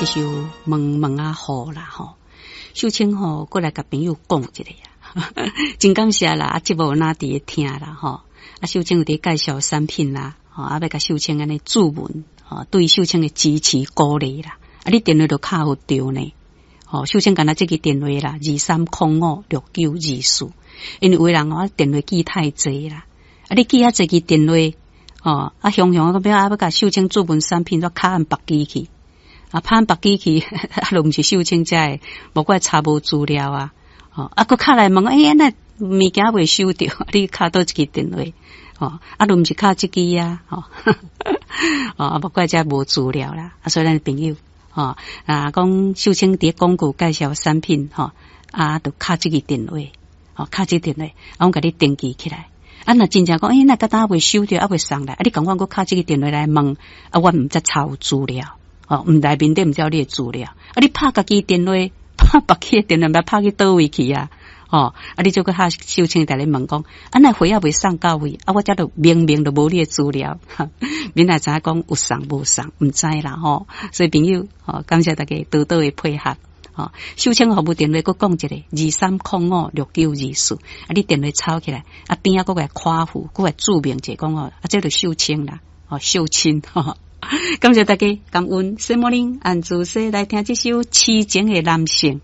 這首《毛毛仔雨》啦吼。秀清吼，過來共朋友講一下啊，真感謝啦！啊，節目若佇咧聽啦吼。啊，秀清有佇介紹產品啦，吼，啊，欲共秀清按呢注文，吼，對秀清的支持鼓勵啦。啊，你電話就敲予著呢。吼，秀清敢若這支電話啦，23056924。因為有的人吼，電話記太濟啦，啊，你記遐濟支電話，吼，啊，雄雄啊，欲啊，欲共秀清注文產品，都敲按別支去，啊，拍按別支去，啊，都毋是秀清遮的，無怪查無資料啊，吼，啊，閣敲來問，欸，那物件未收著，你敲佗一支電話，吼，啊，都毋是敲這支啊，吼，哦，無怪遮無資料啦，啊，所以咱朋友，吼，啊，講秀清佇咧廣告介紹產品，吼，啊，就敲這支電話。吼，敲這電話，啊，阮共你登記起來。啊，若真正講，欸，那到今未收著，猶未送來，啊，你共阮閣敲這個電話來問，啊，阮毋才查有資料，吼，毋內面底毋知有你的資料，啊，你拍家己電話，拍別去的電話，毋知拍去佗位去啊，吼，啊，你就閣敲秀清佇咧問講，啊，那貨猶未送到位，啊，我遮都明明都無你的資料，免來知影講有送無送，毋知啦，吼，所以朋友，吼，感謝大家多多的配合。吼，秀清服務電話閣講一下，23056924。啊，你電話抄起來，啊邊仔閣來誇符，閣來注明者講哦，啊，這就秀清啦，哦，秀清，感謝大家，感恩。小莫林按主說來聽這首痴情的男性。